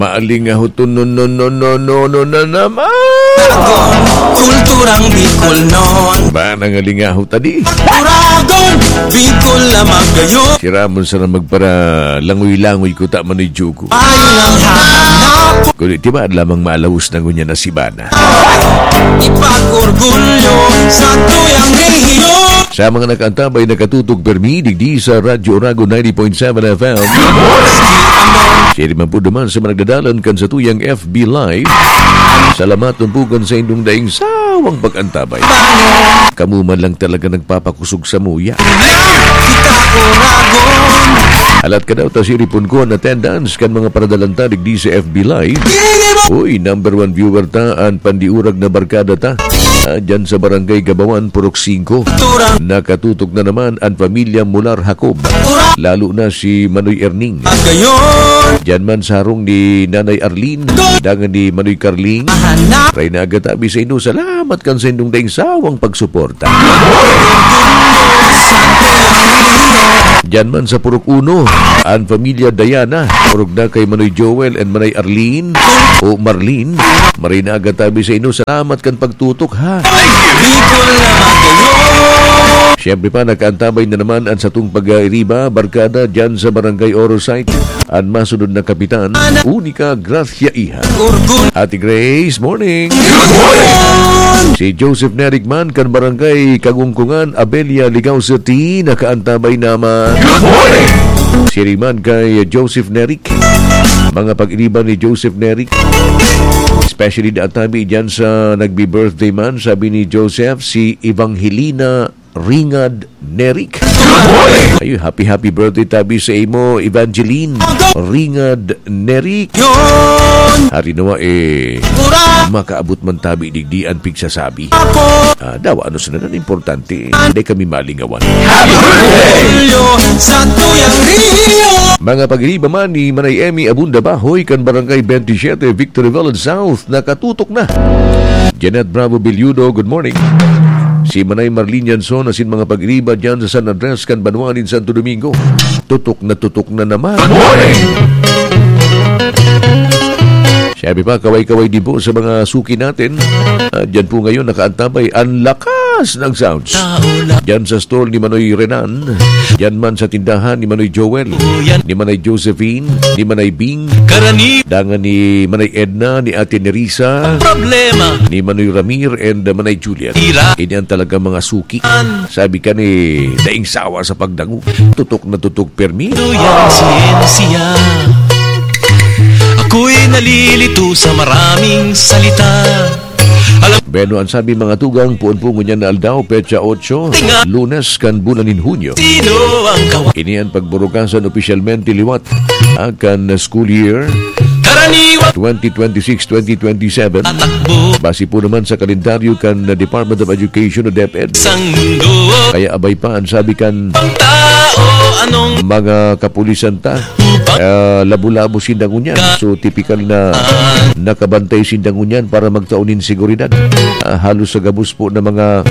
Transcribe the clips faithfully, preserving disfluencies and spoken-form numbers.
Maalingaho to, no, no, no, no, no, no na naman. Kulturang Bicol non. Ba, nangalingaho ta di? Turagon, Bicol na magayon. Si Ramon sana magpara langoy-langoy ko ta manoy jugo. Ay, nang hanap. Kundi, di ba, lamang malawos na ngunyan na si Bana? Ipag-orgulyo sa tuyang rehiyon. Sa mga nakaantabay, nakatutok permi, digdi sa Radyo Oragon ninety point seven F M. Siya naman po duman sa mga nagdadalan kan sa tuyang F B Live. Salamat po kan sa indong daing sawang pag-antabay. Kamo man lang talaga nagpapakusog sa muya. Kita Oragon. Alat ka daw ta siripon ko an attendance kan mga paradalan ta digdi sa F B Live. Uy, number one viewer ta, an pandiurag na barkada ta. Ah, dyan sa Barangay Gabawan, Purok singko. Nakatutok na naman an pamilya Mular Jacob. Lalo na si Manoy Erning. Dyan man sa harong ni Nanay Arlene, dangan ni Manoy Carling. Reyna Agatabi sa inyo, salamat kan sa indong daing sawang pagsuporta. Diyan man sa Purok Uno, an pamilya Diana, orog na kay Manoy Joel and Manay Arlene o Marlene. Maray na agad tabi sa inyo. Salamat kan pagtutok, ha. Siyempre pa, nakaantabay na naman an satong pag-airiba, barkada, dyan sa Barangay Orosite. An masunod na kapitan, Unica Gracia Iha. Ate Grace, morning. Good morning. Si Joseph Nerigman, kan Barangay Kagungkungan, Abella, Ligao City, nakaantabay naman. Good morning. Siring man kay Joseph Nerik. Mga pag-iriba ni Joseph Nerik. Especially da tabi dyan sa nagbi-birthday man, sabi ni Joseph, si Evangelina Ringad Nerik. Good morning. Ayun, happy, happy birthday tabi sa imo, Evangeline Ringad Nerik. Yun. Hari nawa, eh, makaabot man tabi digdi an pigsasabi. Ah, dawa, ano sana nan importante, eh, hindi kami malingawan. Happy birthday! Sa tuyang Rio. Mga pag-iriba man ni Manay Emmy Abunda Bahoy kan Barangay twenty-seven, Victory Village South, nakatutok na. Janet Bravo Billudo, good morning. Si Manay Marlene Yanson asin mga pag-iriba dyan sa San Andres kan banwa nin Santo Domingo. Tutok na tutok na naman. Good morning! Siyempre pa, kaway-kaway din po sa mga suki natin. Ah, dyan po ngayon nakaantabay ang lakas ng sounds. Dyan sa store ni Manoy Renan, dyan man sa tindahan ni Manoy Joel, ni Manay Josephine, ni Manay Bing, dangan ni Manay Edna, ni Ate Nerissa, ni Manoy Ramir, and, uh, Manay Juliet. Ini ang talagang mga suki. Sabi ka ni daing sawa sa pagdango. Tutok na tutok permi. Duyan siyensya. Ako'y nalilito sa maraming salita. Alam Bueno, ang sabi mga tugang, puon po ngunyan na aldaw, petsa otso, Tinga. Lunes kan bulan nin Hunyo. Sino ang kawa- Ini ang pagburukasan opisyalmente liwat, ah, kan school year Karaniwan. twenty twenty-six, twenty twenty-seven. Tatakbo. Base po naman sa kalendaryo kan Department of Education o DepEd. Sang mundo. Kaya abay pa ang sabi kan Ang tao, anong mga kapulisan ta. Upang Ah, labo-labo sinda ngunyan. So, tipikal na nakabantay sinda ngunyan para magtao nin seguridad. Ah, halos sa gabos po na mga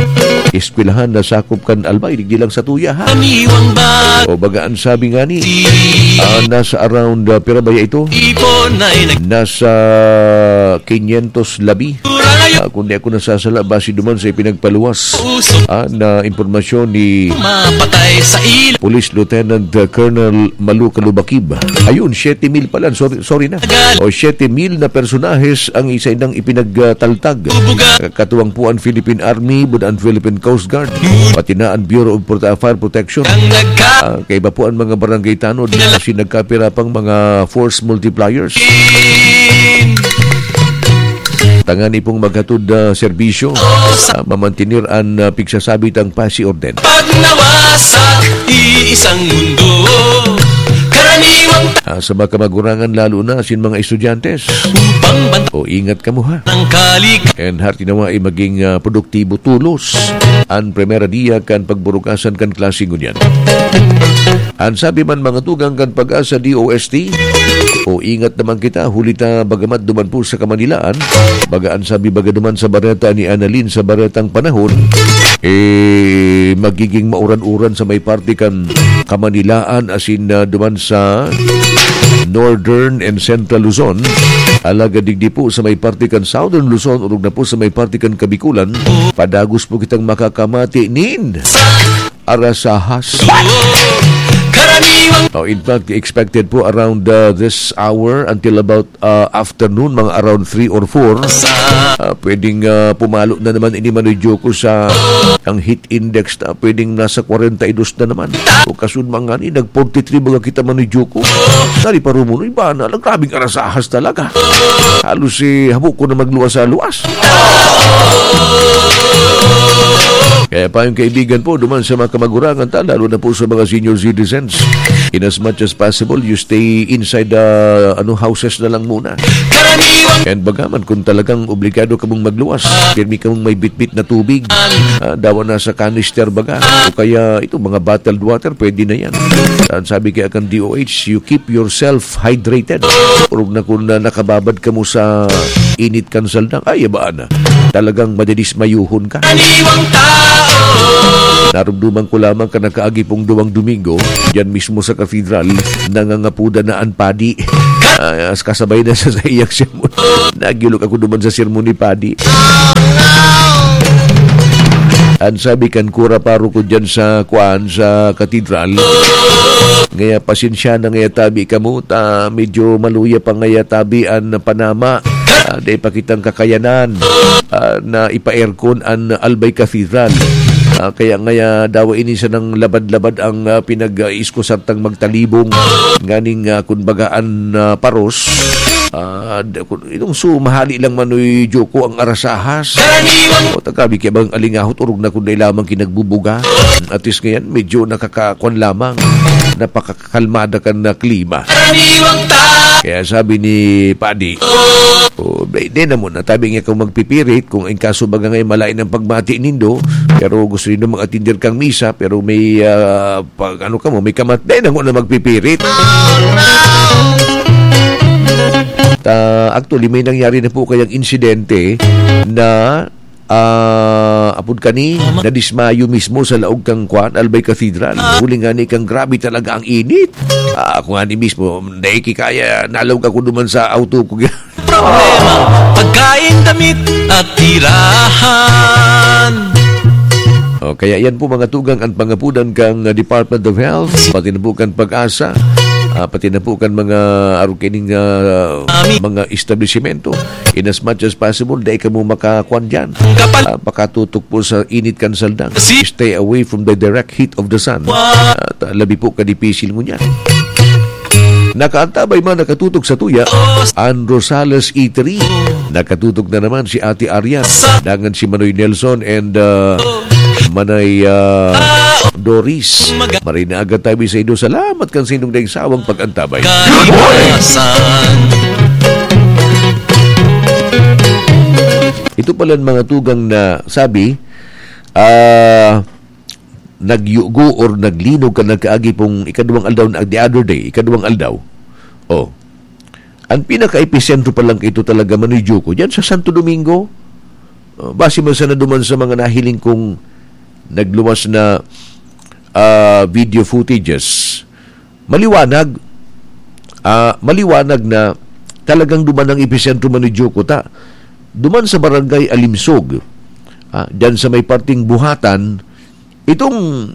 eskwelahan na sakop kan Albay, digdi lang sa tuya, ha? Aniwang ba? O baga ang sabi nga ni, ah, nasa around, ah, pira ba ya ito? Ipon na inag- Nasa quinientos labi. Ah, kung di ako nasasala, base duman sa ipinagpaluwas, ah, na impormasyon ni Mapatay sa ilo. Police Lieutenant, uh, Colonel Malu Kalubakib. Ayun, siyete mil pala. Sorry, sorry na. O, siyete mil na personahes ang isa indang ipinagtaltag. Bubuga. Katuwang po ang Philippine Army, bud ang Philippine Coast Guard, pati na ang Bureau of Prote-, Fire Protection. Ang nagka- Ah, kaiba po ang mga barangay tanod. Kasi nagkapira pang mga force multipliers. Tangani pong maghatod, ah, serbisyo, ah, mamantener an, ah, pigsasabitang pasi orden. Pagnawa sa iisang mundo, karaniwang ta- Ah, sa mga kamagurangan, lalo na sin mga estudyante. Upang banta- O, ingat kamo, ha? Ng kalik- And heart nawa ay maging, ah, produktibo tulos an primera dia kan pagburukasan kan klase ngunyan. An sabi man mga tugang kan Pag-asa D O S T, o ingat naman kita, huli ta bagamat duman po sa Kamanilaan, baga an sabi baga duman sa bareta ni Annalyn sa baretang panahon, eh, magiging mauran-uran sa may parte kan Kamanilaan asin, ah, duman sa Northern and Central Luzon. Alagad digdi po sa may parte kan Southern Luzon, orog na po sa may parte kan Kabikulan, padagos po kitang makakamati nin arasahas. Oh, in fact, expected po around, uh, this hour until about, uh, afternoon, mga around three or four. Uh, pwedeng, uh, pumalo na naman ini, Manoy Joko, sa ang heat index na pwedeng nasa kwarenta y dos na naman. O kasunod man ngani, nag forty-three baga kita, Manoy Joko. Nari pa rumunoy ba na lang, grabing arasahas talaga. Halos, eh, habo ko na magluwas sa luwas. Kaya pa yung kaibigan po, duman sa mga kamagurangan ta, lalo na po sa mga senior citizens, in as much as possible, you stay inside the, ano, houses na lang muna. And bagaman kung talagang obligado kamong magluwas, pirmi kamong may bitbit na tubig, ah, dawa na sa canister baga, o kaya itong mga bottled water, pwede na yan. Ang sabi kaya kan D O H, you keep yourself hydrated. Orog na kung na nakababad kamo sa init kan saldang, ay, abaan na. Talagang madidismayuhon ka. Karaniwang tao. Narumduman ko lamang kan nakaagi pong duwang Domingo, diyan mismo sa katedral, nangangapuda na an padi. Ah, as kasabay na sa, sa iyang sermon. Nagilok ako duman sa sermon ni padi. An sabi kan kura paroko diyan sa, kuan, sa katedral, ngaya pasensya na ngaya tabi kamo, ta medyo maluya pa ngaya tabi an panama. Ah, dai pa kitang kakayanan, ah, na ipa-aircon an Albay Cathedral. Ah, kaya ngaya dawa ini sanang labad-labad ang, ah, pinag-iiskusar tang magtalibong nganing, ah, kun baga an, ah, paros. Ah, da-, kun, itong su-, mahali lang, Manoy Joko, ang arasahas. Karaniwan. O, tagabi kaya bang alingahot, orog na kun dai lamang kinagbubuga. At least ngayon, medyo nakakakwan lamang. Napakakalmada kan na klima. Karaniwang ta- Kaya sabi ni Padi, "O, di, di na muna. Tabi nga kung magpipirit, kung in kaso baga ngayon malain ang pagmati nindo, pero gusto nindo mag-atinder kang misa, pero may, ah, pag ano ka mo, may kamat-, di na muna magpipirit." Ta, actually, may nangyari na po kayang insidente na, ah, apod kani, nadismayo mismo sa laog kang kwan, Albay Cathedral. Huli nga ni kang grabe talaga ang init. Ah, ako nga ni mismo, dai kaya, nalaog ako duman sa auto ko. Problema, pagkain, damit, at tirahan. O, kaya yan po, mga tugang, ang pangapudan kang, uh, Department of Health, pati na po kan PAGASA, ah, pati na po kan mga arukining, ah, mga establisimento. In as much as possible, dai kamo makakwan dyan. Ah, makatutok po sa init kan saldang. Stay away from the direct heat of the sun. At, ah, labi po kadipisil ngunyan. Nakaantabay man, nakatutok sa tuya, an Rosales Eatery. Nakatutok na naman si Ate Arian, dangan si Manoy Nelson and, uh, Manay, uh, Doris. Maray na aga tabi sa inyo. Salamat kan sa inyong daing sawang pag-antabay. Good morning! Ito pala ang mga tugang na sabi, ah, nagyugo or naglinog kan nagkaagi pong ikaduwang aldaw na, the other day, ikaduwang aldaw. Oh. Ang pinaka-episentro pa lang ito talaga, Manoy Joko, diyan sa Santo Domingo. Oh, base man sana duman sa mga nahiling kong nagluwas na, ah, video footages. Maliwanag, ah, maliwanag na talagang duman ang episentro, Manoy Joko, ta. Duman sa barangay Alimsog, ah, diyan sa may parting Buhatan, itong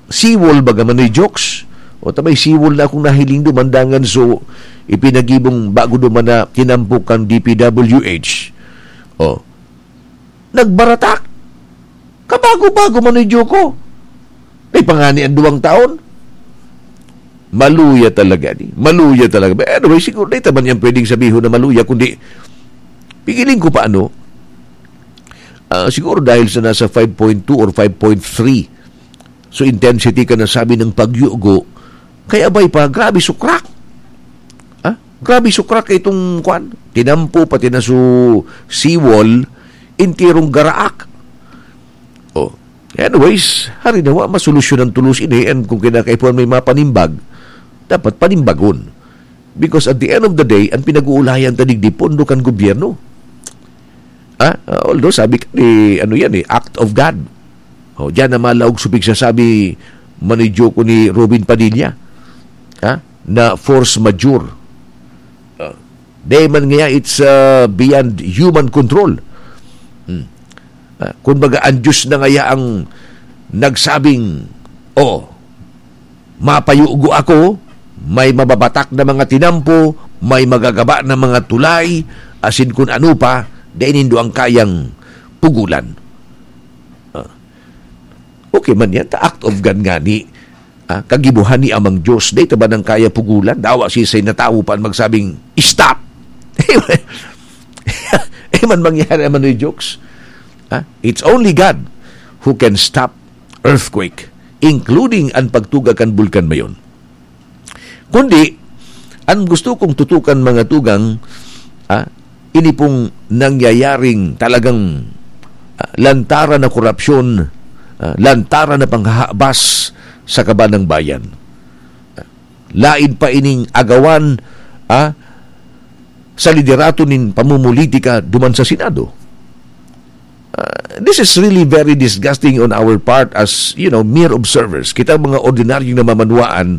seawall baga, Manoy Jokes, o ta may seawall na akong nahiling duman dangan, so, ipinagibong bago duman na tinampo kan D P W H. Oh. Nagbaratak. Kabago-bago, Manoy Joko. May pangani ang duwang taon. Maluya talaga ni. Maluya talaga. But anyway, siguro, di taman yan pwedeng sabihon na maluya, kundi pigiling ko pa, ano, ah, siguro dahil sa nasa five point two or five point three. So, intensity ka na sabi ng pagyugo. Kaya bay pa, grabe sukrak. Ah, grabe sukrak itong kwan. Tinampo, pati na su seawall, intirong garaak. Oh. Anyways, hari nawa, masolusyonan tulos ini, and kung kinakaipuhan may mapanimbag, dapat panimbagon. Because at the end of the day, ang pinag-uulayan ta digdi, pondo kan gobyerno. Ah, ah, although sabi ka ni, ano yan eh, act of God. Oh, diyan na malaog sa pigsasabi, Manoy Joko, ni Robin Padilla. Ha? Na force majeure. Dai man ngaya it's, uh, beyond human control. Hmm. Ah, kumbaga, ang Diyos na ngaya ang nagsabing, "Oh, mapayugo ako, may mababatak na mga tinampo, may magagaba na mga tulay, asin kun ano pa, dai nindo ang kayang pugulan." Ah. Okay man yan, ta act of God ngani. Ah, kagibohan ni Amang Diyos, dai ta ba nang kaya pugulan? Dawa siisay na tawo pa an magsabing, "Stop!" Eh, man mangyari naman yung jokes. Ah, it's only God who can stop earthquake, including an pagtuga kan Bulkan Mayon. Kundi, an gusto kong tutukan, mga tugang, ah, ini pong nangyayaring talagang, ah, lantaran na korupsyon, ah, lantaran na panghahabas sa kaban ng bayan. Ah, lain pa ining agawan, ah, sa liderato nin pamumulitika duman sa Senado. Ah, this is really very disgusting on our part as, you know, mere observers. Kita mga ordinaryong namamanwaan,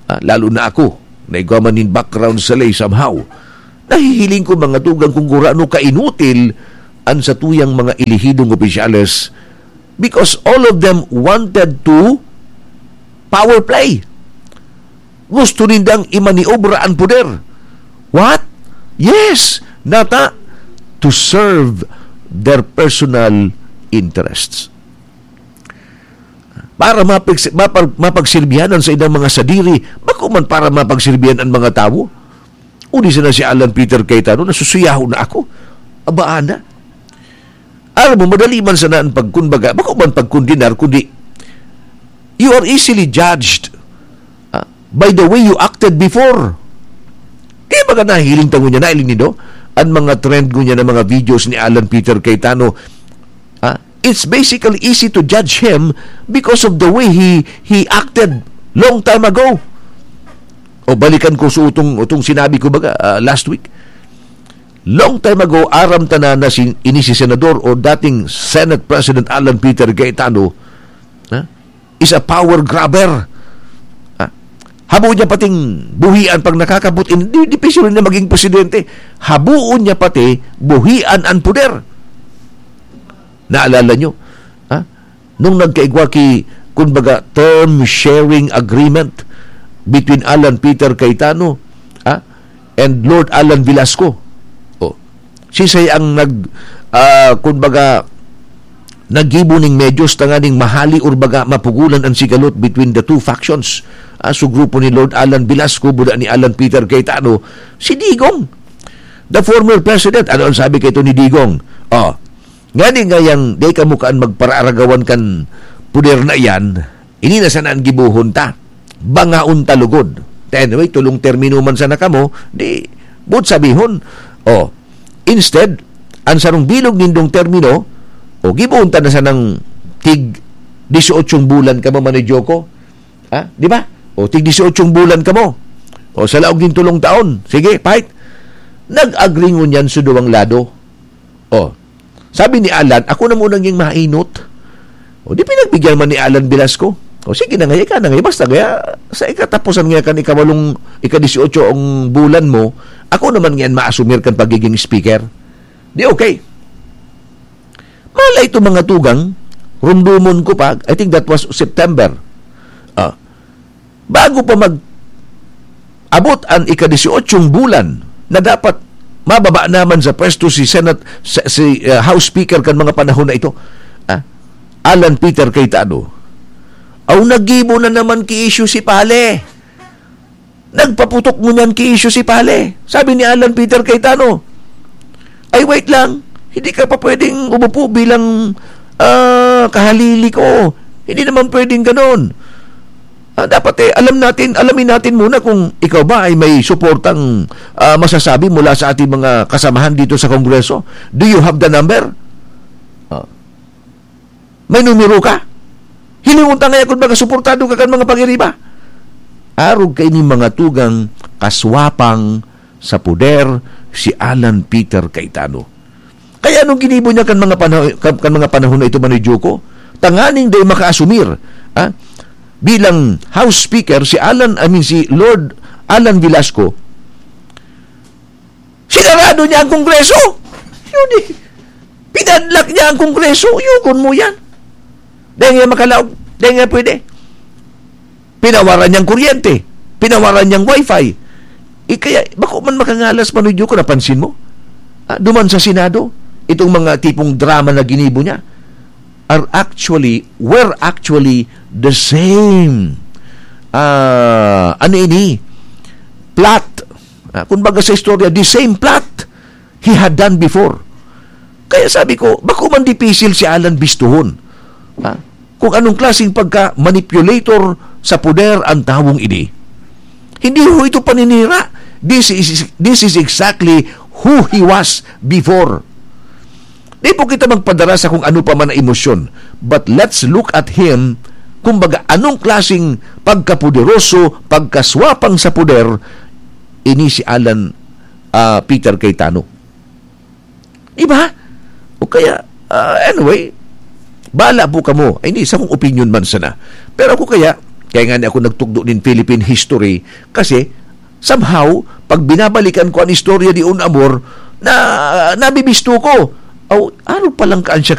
ah, lalo na ako, na igwa man nin background sa lay somehow. Nahihiling ko, mga tugang, kung gurano kainutil an satuyang mga elihidong opisyales, because all of them wanted to power play. Gusto nindang imaniobra an poder. What? Yes, nata, to serve their personal interests. Para mapagsi-, mapag-, mapagsirbihan an saindang mga sadiri, bako man para mapagsirbihan an mga tawo. Uli sana si Alan Peter Cayetano, "Nasusuyahon na ako." Abaan na. Alam mo, madali man sana ang pagkunbaga, bako man pagkondenar, kundi you are easily judged, ah, by the way you acted before. Kaya baga nahiling ta ngunyan, nahiling nindo? Ang mga trend ngunyan ng mga videos ni Alan Peter Cayetano, ah, it's basically easy to judge him because of the way he, he acted long time ago. O balikan ko sa utong, utong sinabi ko baga, ah, last week. Long time ago, aram ta na na si, ini si Senador o dating Senate President Alan Peter Cayetano, ha? Is a power grabber. Ha? Habo niya pating buhian pag nakakabot, in-, di, di pa siya rin na maging presidente. Habuon niya pati buhian ang poder. Naalala nyo? Ha? Nung nagkaigwa ki, kumbaga, term sharing agreement between Alan Peter Cayetano, ha, and Lord Alan Velasco. Oh. Siisay ang nag, ah, kumbaga, naggibo ning medyos tanganing mahali or baga mapugulan ang sigalot between the two factions. Ah, so grupo ni Lord Alan Velasco, buda ni Alan Peter Cayetano, si Digong, the former president. Ano ang sabi kaito ni Digong? Oh, ngani ngayang dai kamo kaan magparaaragawan kan puder na iyan, ini na sana an gibohon ta. Bangaon ta lugod. Anyway, tolong termino man sana kamo, di, buot sabihon, oh, instead, an sarong bilog nindong termino, o, gibohon ta na sanang tig dieciocho bulan kamo, Manoy Joko. Ha? Di ba? O, tig dieciocho bulan kamo. O, sa laog nin tolong taon. Sige, fight. Nag-agree ngunyan sa duwang lado. O, sabi ni Alan, "Ako na muna ngayang mainot." O, di pinagbigyan man ni Alan Velasco. O, sige na nga, ika na nga. Basta kaya, sa ikatapusan nga kan ikawalong, ika-dieciocho ang bulan mo, ako naman ngayon maasumir kan pagiging speaker. Di okay. Malay to, mga tugang, rumdumon ko pa, I think that was September. Ah, bago pa mag-abot an ika-dieciochong bulan na dapat mababa naman sa pwesto si Senate, sa, si, ah, House Speaker kan mga panahon na ito, ah, Alan Peter Cayetano, aw, naggibo na naman ki issue si Pale. Nagpaputok ngunyan ki issue si Pale. Sabi ni Alan Peter Cayetano, "Ay, wait lang. Hindi ka pa pwedeng umupo bilang, ah, kahalili ko. Hindi naman pwedeng ganon. Ah, dapat, eh, alam natin, alamin natin muna kung ikaw ba ay may suportang, ah, masasabi mula sa ating mga kasamahan dito sa Kongreso. Do you have the number?" Ah. May numero ka? Hilingon ta ngaya kun baga suportado ka kan mga pagiriba. Arog kaini, mga tugang, kaswapang sa poder si Alan Peter Cayetano. Kaya anong ginibo niya kan mga panaho-, kan, kan mga panahon na ito, Manoy Joko? Tanganing dai makaasumir, ah, bilang House Speaker si Alan, I mean, si Lord Alan Velasco, Sinarado niya ang Kongreso. Yun eh. Pinadlak niya ang Kongreso. Yugon mo yan. Dahil nga makalaog. Dahil nga pwede. Pinawaran niyang kuryente. Pinawaran niyang wifi. Eh, kaya, bako man makangalas, Manoy Diyo, kung napansin mo. Ah, duman sa Senado, itong mga tipong drama na ginibo niya are actually, were actually the same. Ah, ano ini? Plot. Ah, kumbaga sa istorya, the same plot he had done before. Kaya sabi ko, bako man dipisil si Alan bistuhon. Ha? Kung anong klaseng pagka-manipulator sa poder ang tawong ini. Hindi ho ito paninira. This is, this is exactly who he was before. Di po kita magpadara sa kung ano pa man na emosyon. But let's look at him, kumbaga, anong klaseng pagkapoderoso, pagkaswapang sa poder, ini si Alan, ah, Peter Cayetano. Di ba? O kaya, ah, anyway, bala po kamo. Ay, hindi, sa kong opinion man sana. Pero ako kaya, kaya nga ni ako nagtugdo nin Philippine history, kasi somehow, pag binabalikan ko ang istorya di un amor, na nabibisto ko. Aw, aro palang kaan siya